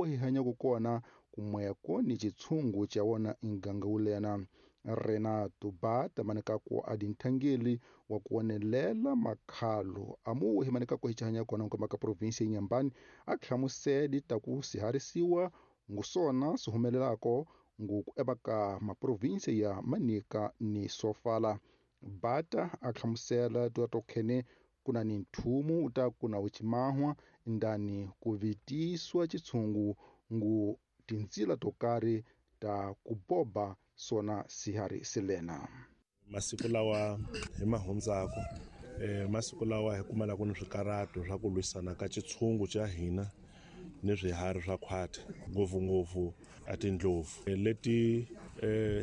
Hi hanyaka kona kumweko ni xitshungu xa wona muganga wulena. Renato Bata manekako a dinthangeli wa ku wonelela makhalo amu hi manekako hi hanya kona nkomba ka provinsi ya Inhambane a hlamuseli ta ku siharisiwa ngusona swi humelelako ngoku eka maprovinsi ya Manica ni Sofala. Bata a hlamusela tokhene kuna ni nthumu ta kuna wuchimahwa ndani ku vitiswa xitshungu ngu tintsila to karhi ta ku boba sona sihari silena. Masiku lawa hi mahundzaku masiku lawa hi kumalaka ni swikarhato swa ku lwisana ka xitshungu xa hina ni swiharhi swa khwati, ngopfungopfu a tindlopfu leti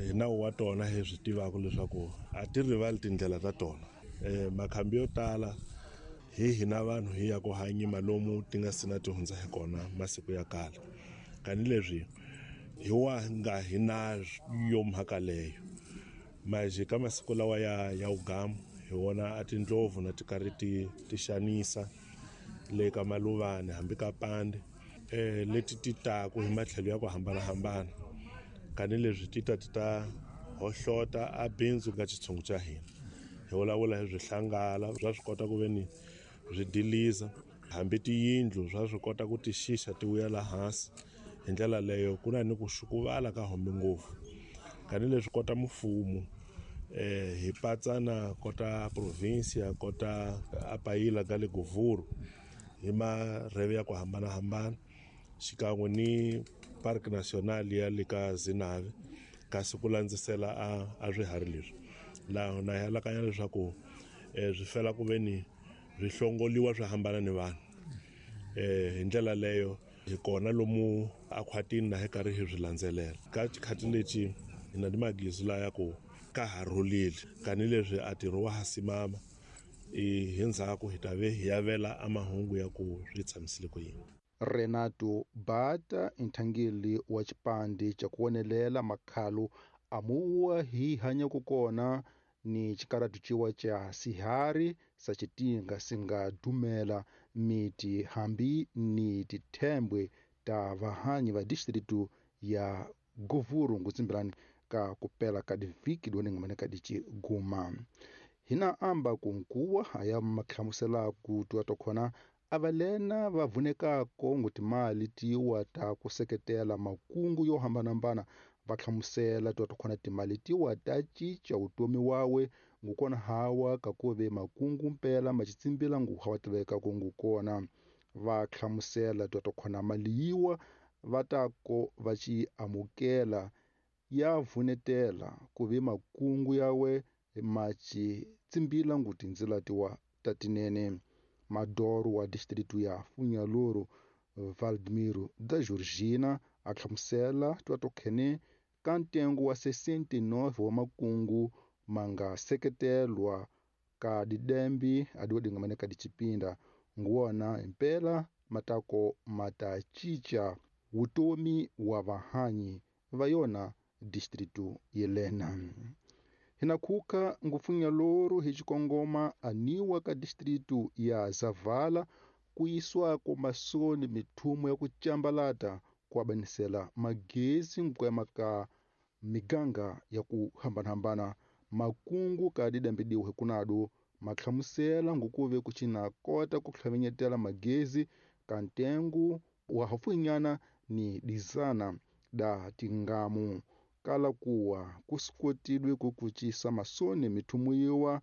hi nawu wa tona hi swi tivaka leswaku a ti rivali tindlela ta tona. Makhambi yo tala hi hina vanhu hi ya ku hanyima lomu ti nga sina ti hundza hi kona masiku ya kala, kanileswi hi wa nga hi na yo mhaka leyo. Manje ka masiku lawa ya wugamu hi wona a tindlopfu na ti karhi ti xanisa le ka Maluvani hambi ka Pande, leti ti taku hi matlhelo ya ku hambanahambana, kanileswi ti ta ti ta hohlota a bindzu ka xitshungu xa hina. Hi vulavula hi swihlangala swa swi kota ku ve ni swi diliza, hambi tiyindlu swa swi kota ku ti xixa ti vuya laha hansi. Hi ndlela leyo ku na ni ku xukuvala ka hombe ngopfu, kanileswi kota mfumo hi patsana kota provinsia kota apayila ka le Govuru hi marheve ya ku hambanahambana, xikan'we ni Park National ya le ka Zinave, kasi ku landzisela a swiharhi leswi. Laha na hi alakanya leswaku swi fela ku ve ni swi hlongoliwa swi hambana ni vanhu. Hi ndlela leyo hi kona lomu a khwatini na hi karhi hi swi landzelela. Ka xikhathi lexi hi na ni magizu laya ku ka ha rhulile, kanileswi a ntirho wa ha simama, hi ndzhaku hi ta ve hi yavela a mahungu ya ku swi tshamisile ku yini. Renato Bata nthangeli wa xipandi xa ku wonelela makhalo amuwa hi hanyaka kona ni xikaratu ciwa xa sihari sa xitinga singa dumela miti hambi ni tithembwe ta vahanyi va distritu ya Govuru ngutsimbilani ka kupela ka divhiki doni ka diciguma. Hina amba kunkuwa aya mahlamusela ku twa tokhona avalena va vunekako ngutimali tiwa ta ku seketela makungu yo hambanahambana, va hlamusela twa tokhona timali tiwa ta cinca vutomi wawe ngukona hawa kakuve makungu mpela maxitsimbila nguha wa tiveka ku ngukona. Va hlamusela twa tokhona mali yiwa va ta ko va xi amukela ya vunetela kuve makungu yawe maxitsimbila ngutindzila tiwa ta tinene. Madoro wa distritu ya Funhalouro Valdemiro da Georgina a hlamusela twa tokhene ka ntengo wa 69 wa makungu manga seketelwa ka didembi adiwodingamane ka dicipinda nguwona impela matako mata cinca vutomi wa vahanyi va yona distritu yelena. Hina khuka nguFunhalouro hi xikongoma aniwa ka distritu ya Zavala ku yisiwako masoni mithumo ya ku cambalata ku abanisela magezi nkwema ka miganga ya ku hambanahambana. Makungu ka didambidiwe hikunadu mahlamusela ngukuve ku cina kota ku hlavenyetela magezi ka ntengu wa hafunyana ni dizana da tingamu kala kuwa kusikotilwe ku kucisa masoni mithumuyiwa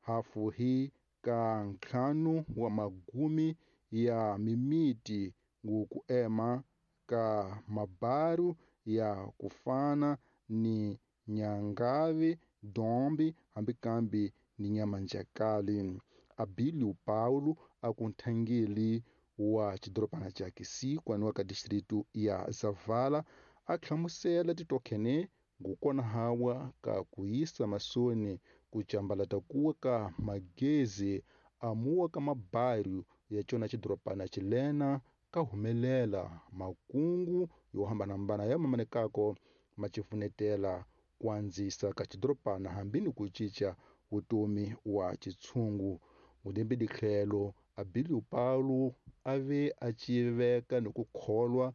hafu hi ka ntlhanu wa magumi ya mimiti nguku ema ka mabaru ya kufana ni Nyangavi, Dombi hambi kambi ni Nyamanjakali. Abilio Paulo akunthangeli wa xidorobana xa Kisikwa ni wa ka distritu ya Zavala a hlamusela titokhene ngukona hawa ka ku yisa masoni ku cambalata kuwa ka magezi amuwa ka mabaru ya cona xidorobana xilena ka humelela makungu yo hambanahambana ya mamanekako ma cifunetela ku andzisa ka xidorobana hambi ni ku cinca vutomi wa xitshungu. Ngudembe ditlhelo Abilio Paulo a ve a civeka ni ku kholwa